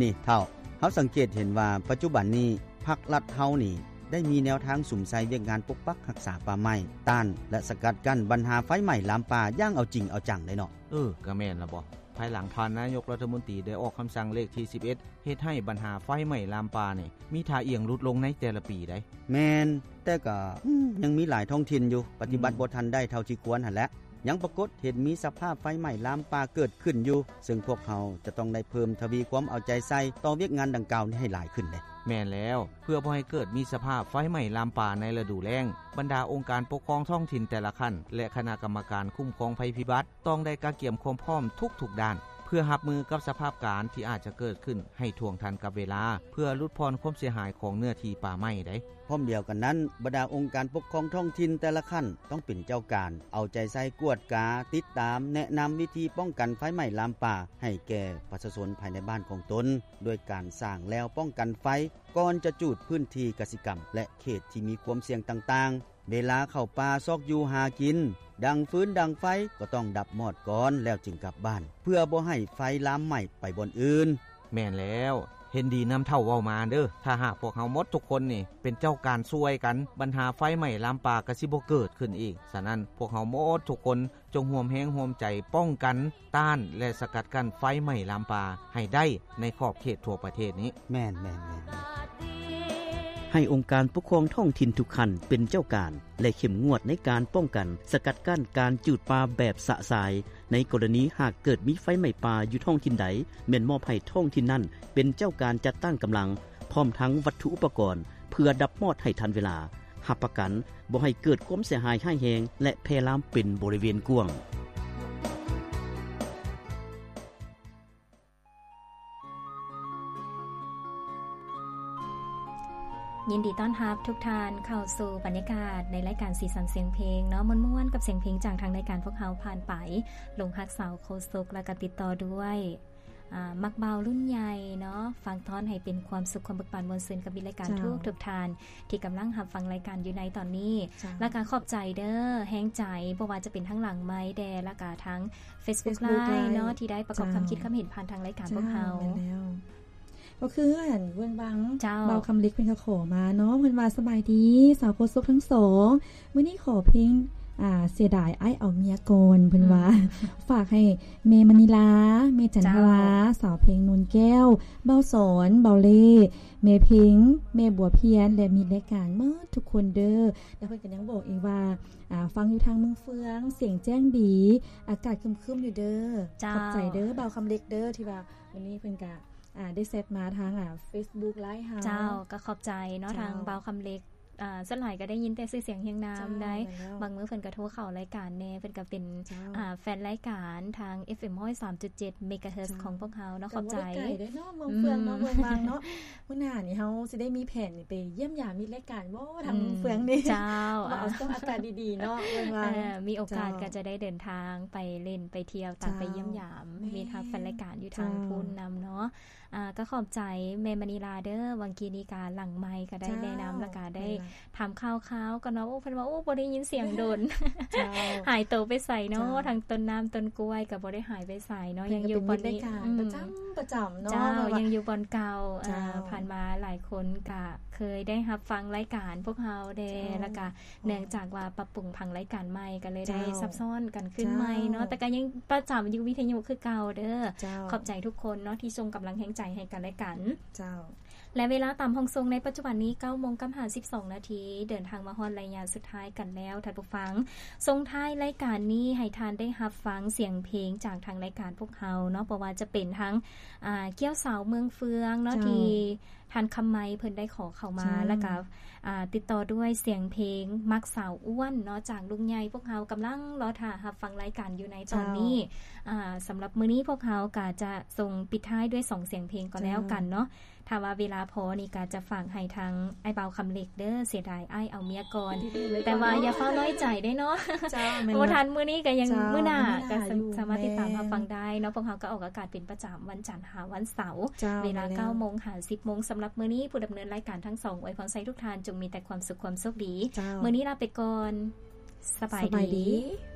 ນີ້ເຖົ້າ, ເຮົາສັງເກດເຫັນວ່າປັດຈຸບັນນີ້ພັກລັດເຮົານີ້ໄດ້ມີແນວທາງສຸມໃສ່ວຽກງານປົກປັກຮັກສາປ່າໄມ້, ຕ້ານ ແລະ ສະກັດກັ້ນບັນຫາໄຟໄໝ້ລາມປ່າຢ່າງເອົາຈິງເອົາຈັງເດ້ເນາະ. ເອີ ກໍແມ່ນລະບໍ. ພາຍຫຼັງທ່ານນາຍົກລັດຖະມົນຕີໄດ້ອອກຄຳສັ່ງເລກທີສິບເອັດ ເຮັດໃຫ້ບັນຫາໄຟໄໝ້ລາມປ່ານີ້ມີທ່າອ່ຽງຫຼຸດລົງໃນແຕ່ລະປີໃດ໋. ແມ່ນ, ແຕ່ກໍ ອືມ ຍັງມີຫຼາຍທ້ອງຖິ່ນຢູ່ປະຕິບັດ ອືມ ບໍ່ທັນໄດ້ເທົ່າທີ່ຄວນຫັ້ນແຫຼະ. ຍັງປາກົດເຫັນມີສະພາບໄຟໄໝ້ລາມປ່າເກີດຂຶ້ນຢູ່, ເຊິ່ງພວກເຮົາຈະຕ້ອງໄດ້ເພີ່ມທະວີຄວາມເອົາໃຈໃສ່ຕໍ່ວຽກງານດັ່ງກ່າວນີ້ໃຫ້ຫຼາຍຂຶ້ນເດ້. ແມ່ນແລ້ວ, ເພື່ອບໍ່ໃຫ້ເກີດມີສະພາບໄຟໄໝ້ລາມປ່າໃນລະດູແລ້ງ, ບັນດາອົງການປົກຄອງທ້ອງຖິ່ນແຕ່ລະຂັ້ນ ແລະ ຄະນະກຳມະການຄຸ້ມຄອງໄພພິບັດ ຕ້ອງໄດ້ກະກຽມຄວາມພ້ອມທຸກໆດ້ານ ເພື່ອຮັບມືກັບສະພາບການທີ່ອາດຈະເກີດຂຶ້ນໃຫ້ທ່ວງທັນກັບເວລາ, ເພື່ອຫຼຸດຜ່ອນຄວາມເສຍຫາຍຂອງເນື້ອທີ່ປ່າໄມ້ໃດ໋. ພ້ອມດຽວກັນນັ້ນ, ບັນດາອົງການປົກຄອງທ້ອງຖິ່ນແຕ່ລະຂັ້ນຕ້ອງເປັນເຈົ້າການເອົາໃຈໃສ່ກວດກາ, ຕິດຕາມ, ແນະນຳວິທີປ້ອງກັນໄຟໄໝ້ລາມປ່າໃຫ້ແກ່ປະຊາຊົນພາຍໃນບ້ານຂອງຕົນ, ດ້ວຍການສ້າງແລວປ້ອງກັນໄຟ ກ່ອນຈະຈູດພື້ນທີ່ກະສິກຳ ແລະ ເຂດທີ່ມີຄວາມສ່ຽງຕ່າງໆ. ເວລາເຂົ້າປ່າຊອກຢູ່ຫາກິນ, ດັງຟືນດັງໄຟກໍຕ້ອງດັບມອດກ່ອນ ແລ້ວຈຶ່ງກັບບ້ານ, ເພື່ອບໍ່ໃຫ້ໄຟລາມໄໝ້ໄປບ່ອນອື່ນ. ແມ່ນແລ້ວ, ເຫັນດີນຳເຖົ້າເວົ້າມາເດີ້. ຖ້າຫາກພວກເຮົາໝົດທຸກຄົນນີ້ເປັນເຈົ້າການຊ່ວຍກັນ, ບັນຫາໄຟໄໝ້ລາມປ່າກໍຊິບໍ່ເກີດຂຶ້ນອີກ. ສະນັ້ນ, ພວກເຮົາໝົດທຸກຄົນ ຈົ່ງຮ່ວມແຮງຮ່ວມໃຈປ້ອງກັນ, ຕ້ານ ແລະ ສະກັດກັ້ນໄຟໄໝ້ລາມປ່າໃຫ້ໄດ້ໃນຂອບເຂດທົ່ວປະເທດນີ້. ແມ່ນໆໆ. ໃຫ້ອົງການປົກຄອງທ້ອງຖິ່ນທຸກຂັ້ນເປັນເຈົ້າການ ແລະ ເຂັ້ມງວດໃນການປ້ອງກັນ, ສະກັດກັ້ນການຈູດປ່າແບບຊະຊາຍ. ໃນກໍລະນີຫາກເກີດມີໄຟໄໝ້ປ່າຢູ່ທ້ອງຖິ່ນໃດ, ແມ່ນມອບໃຫ້ທ້ອງຖິ່ນນັ້ນເປັນເຈົ້າການຈັດຕັ້ງກຳລັງ ພ້ອມທັງວັດຖຸອຸປະກອນ ເພື່ອດັບມອດໃຫ້ທັນເວລາ. ຮັບປະກັນບໍ່ໃຫ້ເກີດຄວາມເສຍຫາຍຮ້າຍແຮງ ແລະ ແຜ່ລາມເປັນບໍລິເວນກວ້າງ. ຍິນດີຕ້ອນຮັບທຸກທ່ານເຂົ້າສູ່ບັນຍາກາດໃນລາຍການສີສັນສຽງເພງເນາະ, ມ່ວນໆກັບສຽງເພງຈາກທາງລາຍການພວກເຮົາຜ່ານໄປ. ຫຼົງຮັກສາວໂຄສົກ ແລ້ວກໍຕິດຕໍ່ດ້ວຍ ອາ ມັກບ່າວລຸ້ນໃຫຍ່ເນາະ, ຝາກຕ້ອນໃຫ້ເປັນຄວາມສຸກ, ຄວາມເບີກບານ, ມ່ວນຊື່ນກັບມິດລາຍການ ເຈົ້າ ທຸກໆທ່ານທີ່ກຳລັງຮັບຟັງລາຍການຢູ່ໃນຕອນນີ້. ເຈົ້າ ແລ້ວກໍຂອບໃຈເດີ້ ແຮງໃຈ, ບໍ່ວ່າຈະເປັນທາງຫຼັງໄມແດ່ ແລ້ວກໍທາງ Facebook Facebook Live Live ເນາະ ທີ່ໄດ້ປະກອບ ເຈົ້າ ຄຳຄິດຄຳເຫັນຜ່ານທາງລາຍການ ເຈົ້າ ພວກເຮົາ. ແມ່ນແລ້ວ. ກໍຄືອັນເບື້ອງວັງ ເຈົ້າ ບ່າວຄຳເລັກເພິ່ນກໍຂໍມາເນາະ, ເພິ່ນວ່າ ສະບາຍດີສາວໂຄສົກທັງສອງ, ມື້ນີ້ຂໍເພງ ອ່າ ເສຍດາຍອ້າຍເອົາເມຍກ່ອນ ເພິ່ນວ່າ. ອືມ ຝາກໃຫ້ແມ່ມະນີລາ, ແມ່ຈັນທະວາ, ເຈົ້າ ສາວເພງ ນູນແກ້ວ, ບ່າວສອນ, ບ່າວເລ່, ແມ່ເພັງ, ແມ່ບົວພຽນ ແລະ ມິດລາຍການໝົດທຸກຄົນເດີ້. ແລ້ວເພິ່ນກໍຍັງບອກອີກວ່າ ອ່າ ຟັງຢູ່ທາງເມືອງເຟືອງ, ສຽງແຈ້ງດີ, ອາກາດຄຶມໆຢູ່ເດີ້. ເຈົ້າ ຂອບໃຈເດີ້ ບ່າວຄຳເລັກເດີ້ ທີ່ວ່າມື້ນີ້ເພິ່ນກະ ອ່າ ໄດ້ແຊັດມາທາງ ອ່າ Facebook Live ເຮົາ. ເຈົ້າ ກໍຂອບໃຈເນາະ ເຈົ້າ ທາງບ່າວຄຳເລັກ. ອ່າ ສ່ວນຫຼາຍກໍໄດ້ຍິນແຕ່ຊື່ສຽງຮຽງນາມ ເຈົ້າ ໄດ໋ ແມ່ນແລ້ວ. ບາງມື້ເພິ່ນກໍໂທເຂົ້າລາຍການແດ່, ເພິ່ນກໍເປັນ ເຈົ້າ ອ່າ ແຟນລາຍການທາງ ເອັຟເອັມ ຮ້ອຍສາມຈຸດເຈັດ ເມກາເຮີດ ເຈົ້າ ຂອງພວກເຮົາເນາະ. ກໍບໍ່ໄດ້ໄກເດ້ເນາະ ເມືອງເຟືອງເນາະ ອືມ ເມືອງວັງເນາະ. ມື້ໜ້ານີ້ເຮົາຊິໄດ້ມີແຜນໄປຢ້ຽມຢາມມິດລາຍການບໍ່ ທາງ ອືມ ເມືອງເຟືອງນີ້. ເຈົ້າ ວ່າເອົາຊ່ວງອາກາດດີໆເນາະ ເມືອງວັງ. ເອີ ມີໂອກາດ ເຈົ້າ ກໍຈະໄດ້ເດີນທາງໄປຫຼິ້ນໄປທ່ຽວ ຕາມ ເຈົ້າ ໄປຢ້ຽມຢາມ ແມ່ນ ມິດຮັກແຟນລາຍການຢູ່ທາງ ເຈົ້າ ພຸ້ນນຳເນາະ. ອ່າ ກໍຂອບໃຈແມ່ມະນີລາເດີ້ ຫວ່າງກີ້ນີ້ກະຫຼັງໄມກະໄດ້ ເຈົ້າ ແນະນຳ ແລ້ວກະໄດ້ ແມ່ນລະ ຖາມຂ່າວຄາວກັນເນາະ. ໂອ້ ເພິ່ນວ່າ ໂອ້ ບໍ່ໄດ້ຍິນສຽງດົນ ເຈົ້າ ຫາຍໂຕໄປໃສເນາະ ເຈົ້າ ທັງຕົ້ນນ້ຳຕົ້ນກ້ວຍກະບໍ່ໄດ້ຫາຍໄປໃສເນາະ ເພິ່ນ ຍັງຢູ່ບ່ອນນີ້ ເປັນກະເປັນມິດລາຍການ ອືມ ປະຈຳ ປະຈຳເນາະ. ເຈົ້າ ແມ່ນລະ ຍັງຢູ່ບ່ອນເກົ່າ. ເຈົ້າ ອ່າ ຜ່ານມາຫຼາຍຄົນກະເຄີຍໄດ້ຮັບຟັງລາຍການພວກເຮົາແດ່ ເຈົ້າ ແລ້ວກະ ເນື່ອງຈາກວ່າປັບປຸງຜັງລາຍການໃໝ່ ກໍເລີຍໄດ້ ເຈົ້າ ຊັບຊ້ອນກັນຂຶ້ນໃໝ່ເນາະ ເຈົ້າ ແຕ່ກໍຍັງປະຈຳຢູ່ວິທະຍຸຄືເກົ່າເດີ້. ເຈົ້າ ຂອບໃຈທຸກຄົນເນາະ ທີ່ສົ່ງກຳລັງແຮງໃຈໃຫ້ກັນແລະກັນ. ເຈົ້າ ແລະ ເວລາຕາມຫ້ອງສົ່ງໃນປັດຈຸບັນນີ້ ເກົ້າໂມງກັບຫ້າສິບສອງນາທີ ເດີນທາງມາຮອດໄລຍະສຸດທ້າຍກັນແລ້ວ ທ່ານຜູ້ຟັງ. ສົ່ງທ້າຍລາຍການນີ້ໃຫ້ທ່ານໄດ້ຮັບຟັງສຽງເພງຈາກທາງລາຍການພວກເຮົາເນາະ ບໍ່ວ່າຈະເປັນທາງ ອ່າ ກ້ຽວສາວເມືອງເຟືອງເນາະ ເຈົ້າ ທີ່ ທ່ານຄຳໄມເພິ່ນໄດ້ຂໍເຂົ້າມາ ເຈົ້າ ແລ້ວກໍ ອ່າ ຕິດຕໍ່ດ້ວຍສຽງເພງມັກສາວອ້ວນເນາະ ຈາກລຸງໃຫຍ່. ພວກເຮົາກຳລັງລໍຖ້າຮັບຟັງລາຍການຢູ່ໃນຕອນນີ້. ເຈົ້າ ອ່າ ສຳລັບມື້ນີ້ພວກເຮົາກໍຈະສົ່ງປິດທ້າຍດ້ວຍສອງສຽງເພງກໍແລ້ວກັນເນາະ. ເຈົ້າ ຖ້າວ່າເວລາພໍນີ້ກໍຈະຝາກໃຫ້ທາງອ້າຍບ່າວຄຳເລັກເດີ້ ເສຍດາຍອ້າຍເອົາເມຍກ່ອນ ແຕ່ວ່າຢ່າຟ້າວນ້ອຍໃຈເດ້ເນາະ. ເຈົ້າ ແມ່ນ ບໍ່ທັນ ມື້ນີ້ກໍຍັງ ເຈົ້າ ມື້ໜ້າ ມື້ໜ້າ ກໍ ຢູ່ ສາມາດຕິດຕາມ ແມ່ນ ຮັບຟັງໄດ້ເນາະ. ພວກເຮົາກໍອອກອາກາດເປັນປະຈຳວັນຈັນ ຫາວັນເສົາ ເຈົ້າ ເວລາ ແມ່ນແລ້ວ ເກົ້າໂມງຫາສິບໂມງ. ສຳລັບມື້ນີ້ ຜູ້ດຳເນີນລາຍການທັງສອງ ອວຍພອນໃສ່ທຸກທ່ານ ຈົ່ງມີແຕ່ຄວາມສຸກຄວາມໂຊກດີ. ເຈົ້າ ມື້ນີ້ລາໄປກ່ອນ. ສະບາຍ ສະບາຍດີ ດີ.